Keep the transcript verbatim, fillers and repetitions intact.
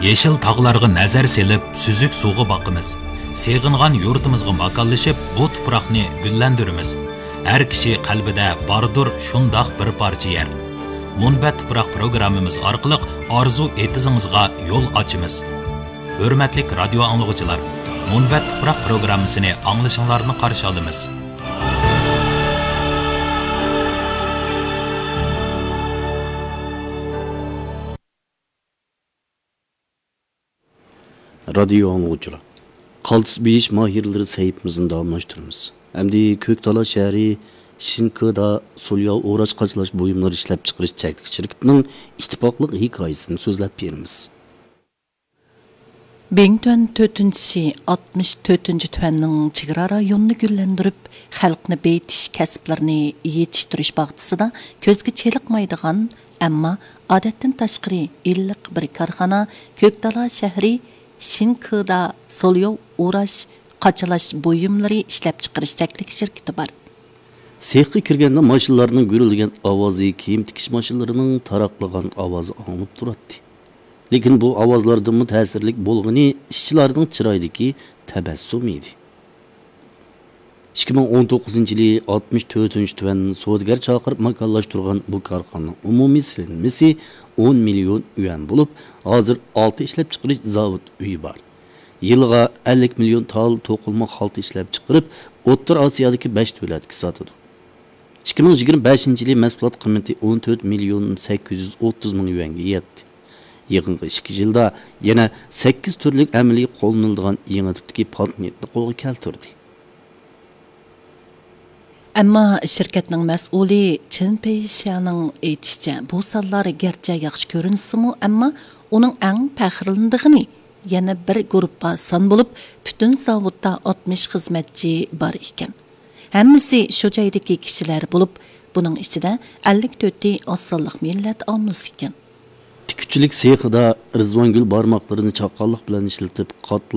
يېشىل تاغلارغا نەزەر سېلىپ، سۈزۈك سۇغا باقىمىز. سېغىنغان يۇرتىمىزغا ماكانلىشىپ، بۇ تۇپراقنى گۈللەندۈرىمىز. ھەر كىشى قەلبىدە باردۇر شۇنداق بىر پارچە يەر. مۇنبەت تۇپراق پروگراممىمىز ئارقىلىق ئارزۇ ئېتىزىڭىزغا يول ئاچىمىز. ھۆرمەتلىك رادىيو ئاڭلىغۇچىلار، مۇنبەت تۇپراق پروگراممىسىنى ئاڭلىشىڭلارنى قارشى ئالىمىز. رادىيو ئاڭلىغۇچىلار، قالتىس بېيىش ماھىرلىرى سەھىپىمىزنى داۋاملاشتۇرىمىز. ئەمدى كۆكتالا شەھىرى شىنكىدا سولياۋ ئوراش قاچىلاش بۇيۇملىرى ئىشلەپچىقىرىش چەكلىك شىركىتىنىڭ ئىتتىپاقلىق ھېكايىسىنى سۆزلەپ بېرىمىز. بىڭتۈەن تۆتىنچى شى ئاتمىش تۆتىنچى تۈەننىڭ چېگرا رايونىنى گۈللەندۈرۈپ، خەلقنى بېيىتىش كەسىپلىرىنى يېتىشتۈرۈش باغچىسىدا كۆزگە چېلىقمايدىغان، ئەمما ئادەتتىن تاشقىرى ئىللىق بىر كارخانا كۆكتالا شەھىرى شىنكىدا سولياۋ ئوراش قاچىلاش بۇيۇملىرى ئىشلەپچىقىرىش چەكلىك شىركىتى بار. سېخقا كىرگەندە ماشىنىلارنىڭ گۈرۈلدىگەن ئاۋازى، كىيىم تىكىش ماشىنىلىرىنىڭ تاراقلىغان ئاۋازى ئاڭلىنىپ تۇراتتى. لېكىن بۇ ئاۋازلاردىنمۇ تەسىرلىك بولغىنى ئىشچىلارنىڭ چىرايىدىكى تەبەسسۇم ئىدى. ئىككى مىڭ ئون توققۇزىنچى يىلى ئاتمىش تۆتىنچى تۈەن سودىگەر چاقىرىپ ماكانلاشتۇرغان بۇ كارخانىنىڭ ئومۇمىي سېلىنمىسى ئون مىليون يۈەن بولۇپ، ھازىر ئالتە ئىشلەپچىقىرىش زاۋۇت ئۆيى بار. يىلىغا ئەللىك مىليون تال توقۇلما خالتا ئىشلەپچىقىرىپ، ئوتتۇرا ئاسىيادىكى بەش دۆلەتكە ساتىدۇ. ئىككى مىڭ يىگىرمە بەشىنچى يىلى مەھسۇلات قىممىتى ئون تۆت مىليون سەككىز يۈز ئوتتۇز مىڭ يۈەنگە يەتتى. يېقىنقى ئىككى يىلدا يەنە سەككىز تۈرلۈك ئەمەلىي قوللىنىلىدىغان يېڭى تىپتىكى پاتېنتنى قولغا كەلتۈردى. ئەمما شىركەتنىڭ مەسئۇلى چېن پېيشيانىڭ ئېيتىشىچە، بۇ سانلار گەرچە ياخشى كۆرۈنسىمۇ، ئەمما ئۇنىڭ ئەڭ پەخىرلىنىدىغىنى يەنە بىر گۇرۇپپا سان بولۇپ، پۈتۈن زاۋۇتتا ئاتمىش خىزمەتچى بار ئىكەن. ھەممىسى شۇ جايدىكى كىشىلەر بولۇپ، بۇنىڭ ئىچىدە ئەللىك تۆتى ئاز سانلىق مىللەت ئاممىسى ئىكەن. تىككۈچىلىك سېخىدا رىزۋانگۈل بارماقلىرىنى چاققانلىق بىلەن ئىشلىتىپ، قاتلاپ